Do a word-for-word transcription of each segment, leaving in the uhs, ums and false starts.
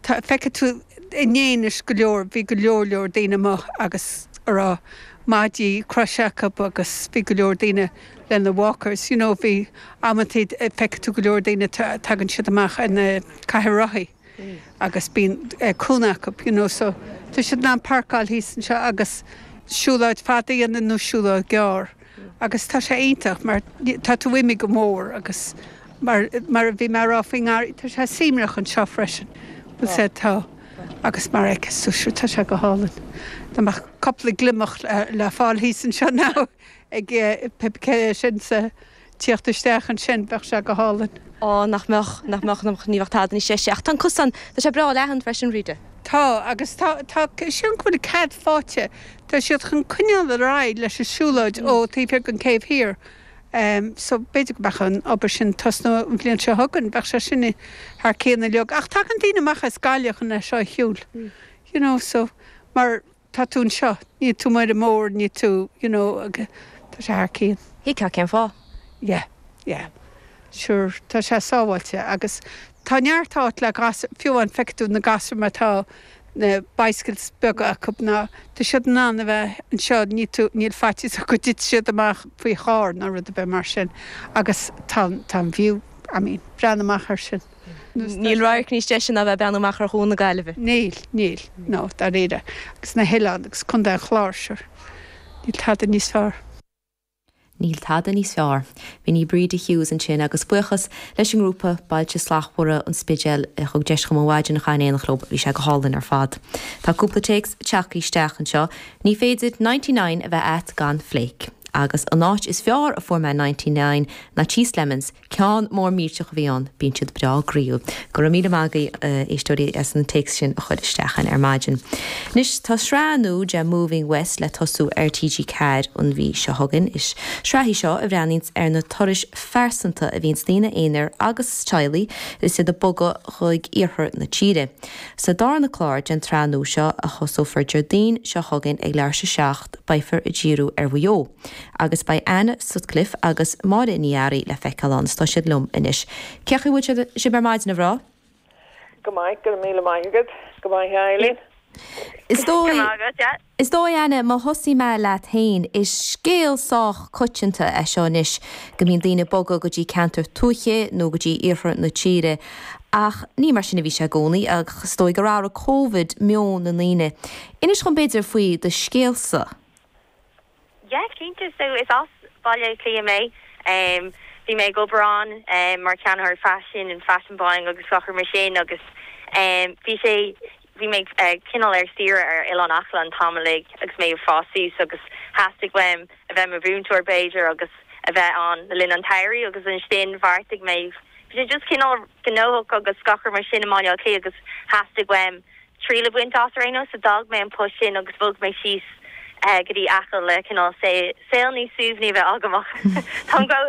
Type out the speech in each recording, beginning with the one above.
Feicfidh tú inné anois go leor bhí go leor leor daoine amuigh agus a raibh maidí croise acu agus bhí go leor daoine lena walkers, you know, bhí amantaí feicfidh tú go leor daoine tagann siad amach ar na cathaoir rothaí agus bíonn cúnamh acu, you know, so tá siad in ann páirceáil thíos anseo agus siúlóid fada a dhéanamh nó siúlóid ghearr. Agus tá sé iontach mar tá tú imithe go mór agus mar mar a bhí mé ag rá faoin ngarraí tá sé suaimhneach anseo freisin. Bhuel said tá agus mar a fheiceas tú tá sé go hálainn. Tá mbeadh cúpla gliomach le fáil thíos anseo now ag pé sin sa tíocht isteach ansin bheadh sé go hálainn. Ó nach mbeadh nach mbeadh ní bheadh tada níos deise ach tá an cosán tá sé breá leathan freisin Rita. Tá agus tá tá sin go bhfuil cead faighte Tá siad chun coinneáil ar aghaidh leis an siúlóid ó taobh thiar den céibh thiar. Um, so b'fhéidir go mbeadh an obair sin tosnú an bhliain seo chugainn, bheadh sé sin thar cionn uilig. Ach tagann daoine amach as Gaillimh chun é seo a shiúl. You know, so mar tá tú anseo, ní tú mar mór ní tú you know, tá sé thar cionn. Thuigfeá cén fáth. Yeah, yeah. Sure, tá sé sábháilte agus tá neart áit le gas fiú an feicfidh tú na gasúir má tá na bicycles beaga acu ná tá siad in ann a bheith anseo ní tú níl faitíos go dtitfidh siad amach faoi charr nó rud a bheith mar sin agus tá tá an view I mean, breathnú amach ar sin. Níl radharc níos deise ná bheith breathnú amach ar Chuan na Gaillimhe. Níl, níl, no, dáiríre, agus na hoileáin agus Contae an Chláir sure. Níl tada níos fearr. Níl tada níos fearr. Bhí ní Bríde Hughes ansin agus buíochas leis an ngrúpa Bailte Slachtmhara an Spidéil a thug deis dom an mhaidin a chaitheamh in éineacht leo bhí sé go hálainn ar fad. Tá cúpla téacs tagtha isteach anseo, ní féidir ninety nine a bheith agat gan flake. Agus an áit is fearr a fuair mé ninety nine ná Cheese Lemons, ceann mór millteach a bhí ann, bíonn siad breá groíúil. Go raibh míle maith agaibh éisteoirí as an téacs sin a chur isteach ar maidin. Anois tá sraith nua de Moving West le tosú ar TG Ceathair an mhí seo chugainn is sraith í seo a bhreathnaíonn ar na turais phearsanta a bhíonn daoine aonair agus teaghlaigh is iad ag bogadh chuig iarthar na tíre. Sa darna clár den tsraith nua seo a thosófar Déardaoin seo chugainn ag leathuair tar éis a seacht beifear ag díriú ar Mhaigh Eo. Agus beidh Anna Sutcliffe agus Máire Ní Fhearraigh le feiceáil ann tá siad liom anois. Cén chaoi a bhfuil sibh ar maidin a mhná? Go maith go míle maith agat go maith Eileen. Is dóigh Is dóigh Anna má thosaím mé leat féin is scéal sách coitianta é seo anois go mbíonn daoine ag bogadh go dtí ceantar tuaithe nó go dtí iarthar na tíre. Ach ní mar sin a bhí sé i gcónaí ach is dóigh gur athraigh Covid meon na ndaoine. Inis dom b'fhéidir faoi do scéalsa. Yeah, cinnte so is as Baile Átha Cliath mé. Um, bhí mé ag obair ann um, mar cheannaitheoir fashion and fashion buying agus gach rud mar sin agus um, bhí sé bhí mé uh, cineál ar saoire ar Oileán Acaill an t-am uilig agus mé ag fás suas agus theastaigh uaim a bheith mar mhúinteoir b'fhéidir agus a bheith ann le linn an tsamhraidh agus ansin bheartaigh mé bhí sé just cineál gnóthach agus gach rud mar sin i mBaile Átha Cliath agus theastaigh uaim triail a bhaint as ar aon nós so d'fhág mé an post sin agus bhog mé síos uh, go dtí Acaill le cineál saol níos suaimhní bheith agam Tá go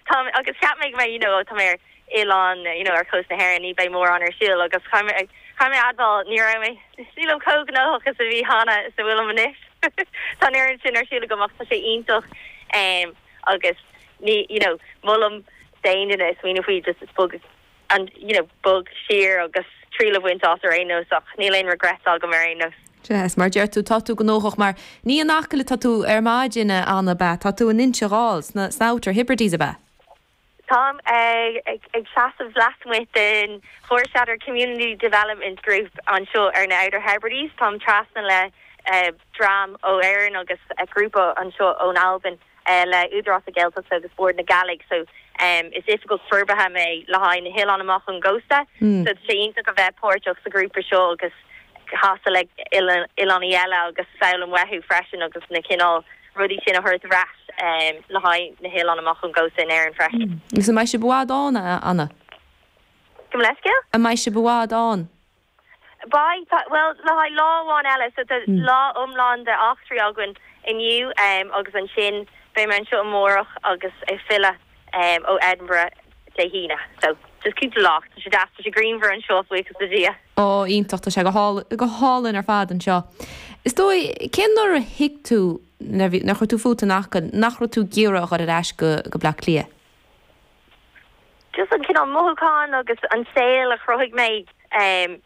tá agus cheap mé mé you know tá mé ar oileán you know ar chósta na hÉireann ní bheidh mórán ar siúl agus cha mé admháil ní raibh mé nílim chomh gnóthach is a bhí cheana is a bhfuilim anois Tá an sin ar siúl agam ach tá sé iontach um, agus ní you know molaim d'aon duine smaoineamh faoi just is bog an you know bog siar agus triail a bhaint as ar aon nós ach níl aon regret agam ar aon nós. Yes, mar deir tú tá tú gnóthach mar ní in Acaill atá tú ar maidin Anna ab ea, tá tú in Inse Ghall sna Outer Hebrides ab ea. Táim ag ag ag seasamh lasmuigh den Forshatter Community Development Group anseo ar na Outer Hebrides Táim trasna le uh, dream ó Éirinn agus a grúpa anseo ón Albain uh, le Údarás na Gaeltachta agus Bord na Gàidhlig so um, is oifigeach forbartha mé le haghaidh na hoileáin amach ón gcósta Mm. so sé iontach a bheith páirteach sa grúpa seo agus casadh le oileánaigh eile agus foghlaim uathu freisin agus na cineál rudaí sin a thabhairt ar ais um, le haghaidh na hoileáin amach ón gcósta in Éirinn freisin. Agus an mbeidh sibh i bhfad ann Anna? Gabh mo leithscéal? An mbeidh sibh i bhfad ann? Beidh well le haghaidh lá amháin eile so tá Mm. lá iomlán de eachtraí againn inniu um, agus ansin beidh mé anseo amárach agus ag filleadh um, ó Edinburgh Dé hAoine. So just cúpla lá tá sé deas tá sé grianmhar anseo buíochas le Dia. Ó iontach tá sé go há- go hálainn ar fad anseo. Is dóigh cén uair a thuig tú nuair chuir tú fút in Acaill nach raibh tú ag iarraidh a dhul ar ais go go Bleá Cliath. Just an cineál mothúchán agus an saol a chruthaigh mé um,